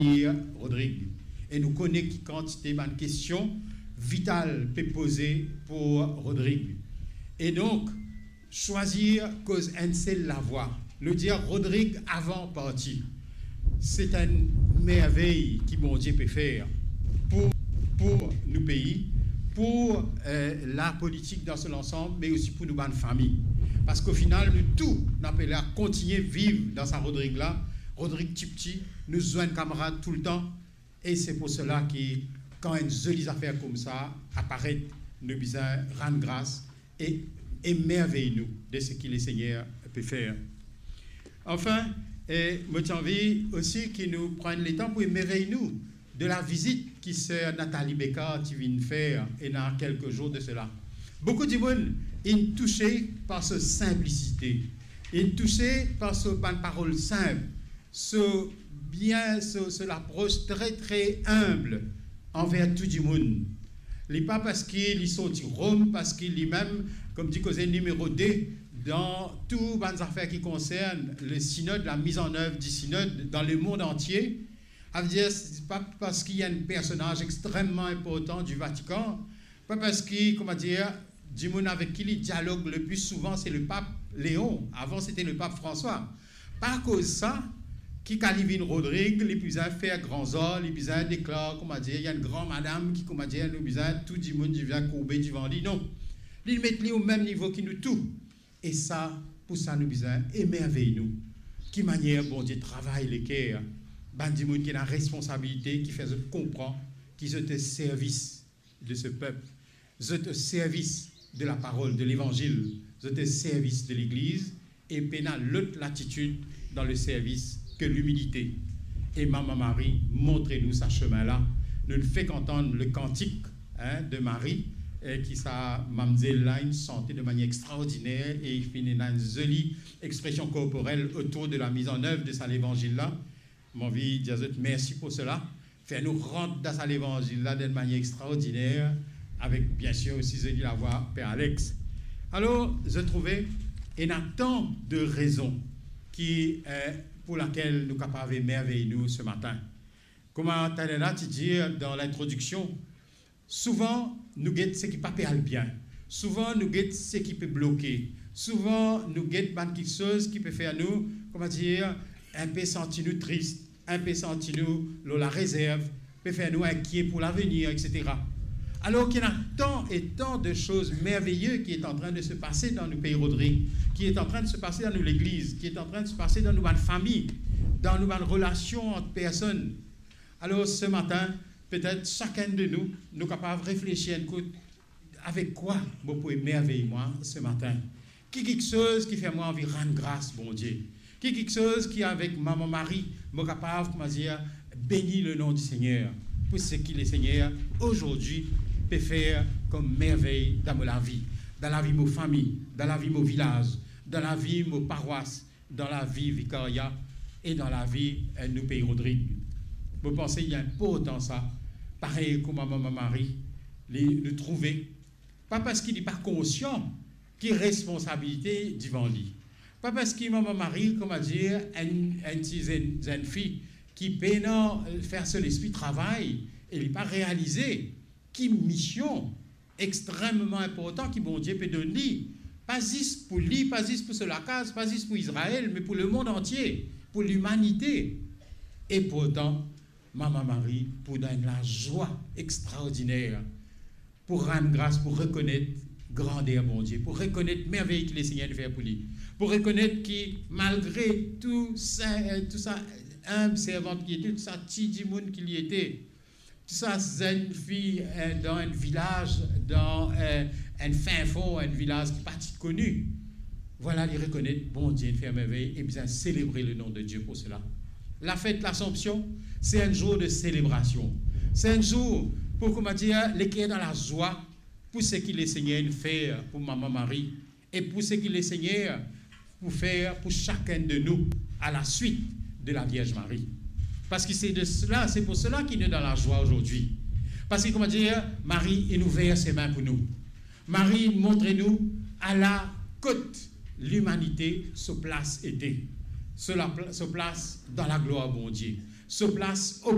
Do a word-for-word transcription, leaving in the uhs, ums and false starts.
Rodrig. E nou kone ki kantite bann kestion vital pe poze pou Rodrig. E donk, swazir koz enn sel lavwa, nou dir Rodrig avan parti. Se enn mervey ki Bondie pe fer pou, pou nou pei, pou, eh, lapolitik dan so lansam, me osi pou nou bann fami. Parski o final, nou tou, nou apele a kontigne viv dan sa Rodrig la, Rodrig tipti, nou zwenn kamarad toultan, e se pou sela ki, kan enn zoli zafer koumsa aparet, nou bizin rann gras e emervey nou de seki Lesegner pe fer. Anfin, e mo ti anvi osi ki nou pran letan pou emervey nou de lavizit ki ser Nathalie Becard ti vinn fer ena kelke zour de sela. Boukou dimoun inn touse par so sinplisite, inn touse par so bann parol sinp, so bien, so, so lapros tre, tre inb anver tou dimoun. Li pa parski li sorti Rom, parski limem, kouma dir koze, nimero de dan tou bann zafer ki konsern le sinod, la mise en œuvre du synode dans le monde entier. Savedir, se pa parski li enn personaz extrememan inportan di Vatikan, pa parski, kouma dir, dimoun avek ki li dialog le pli souvan se le pap Leon, avan sete le pap Franswa. Pa akoz sa ki kan li vinn Rodrig, li bizin fer gran zar, li bizin deklar, kouma dir, li enn gran madam ki, kouma dir, nou bizin, tou dimoun bizin kourbe divan li. Non. Li met li o mem nivo ki nou tou. E sa, pou sa nou bizin emervey nou. Ki manier Bondie travay leker bann dimoun ki ena responsabilite, ki fer zot konpran ki zot o servis de se pep, zot o servis de laparol, de levanzil, zot o servis de Legliz, e pena lot latitid dan le servis ke limilite. E Mama Mari montre nou sa semin la. Nou fek antann le kantik, hein, de Marie, e ki sa mamzel la inn sante de manier extraordiner, e li finn ena enn zoli expresion korporel otour de la mise en œuvre de sa levanzil la. Mo anvi dir zot mersi pou sela. Fer nou rant dan sa levanzil la dan enn manier extraordiner, avek, biensir, osi zoli lavwa Per Alex. Alor, zot trouve, ena tan de rezon ki, eh, pou lakel nou kapav emervey nou se matin. Kouma taler la ti dir dan lintrodiksion, souvan nou get seki pa pe al bien. Souvan nou get seki pe bloke. Souvan nou get bann kiksoz ki pe fer nou, kouma dir, inpe santi nou tris, inpe santi nou lor larezerv, pe fer nou inkiet pou lavenir, etsetera. Alor ki ena tan e tan de soz merveye ki est en train de se pase dan nou pei Rodrig, ki est en train de se pase dan nou legliz, ki est en train de se pase dan nou bann fami, dan nou bann relasion ant personn. Alor, se matin, petet sakenn de nou, nou kapav reflesir enn kout, avek kwa mo pou emervey mwa se matin? Ki kiksoz ki fer mwa anvi rann gras Bondie? Ki kiksoz ki, avek Mama Mari, mo kapav, kouma dir, beni le nom du Seigneur pou seki Lesegner azordi pe fer kom mervey dan mo lavi, dan lavi mo fami, dan lavi mo vilaz, dan lavi mo parwas, dan lavi vikaria e dan lavi, eh, nou pei Rodrig. Mo panse li inportan sa, parey kouma Mama Mari, li, nou trouve, pa parski li pa konsian ki responsabilite divan li, pa parski Mama Mari, kouma dir, enn, enn ti zenn, zenn fi ki pena, eh, fer so lespri travay e li pa realize ki mision extrememan inportan ki Bondie pe donn li, pa zis pou li, pa zis pou so lakaz, pa zis pou Izrael, me pou lemond antie, pou limanite. E pourtan, Mama Mari pou dan enn lazwa extraordiner, pou rann gras, pou rekonet grander Bondie, pou rekonet mervey ki Lesegner inn fer pou li, pou rekonet ki malgre tou sa, tou sa inb servant ki li ete, tou sa ti dimoun ki li ete, tou sa zenn fi, eh, dan enn vilaz, dan, eh, enn finfon, enn vilaz ki pa ti koni. Vwala, li rekonet Bondie inn fer mervey e bizin selebre le nom de Dieu pou sela. Lafet Lasanpsion, se enn zour de selebrasion. Se enn zour pou, kouma dir, leker dan lazwa pou seki Lesegner inn fer pou Mama Mari e pou seki Lesegner pou fer pou sakenn de nou a la suit de la Vierge Marie. Parski se de sela, se pou sela ki nou dan lazwa azordi. Parski, kouma dir, Mari inn ouver semin pou nou. Mari inn montre nou ala kot limanite so plas ete, so lapla-, so plas dan laglwar Bondie, so plas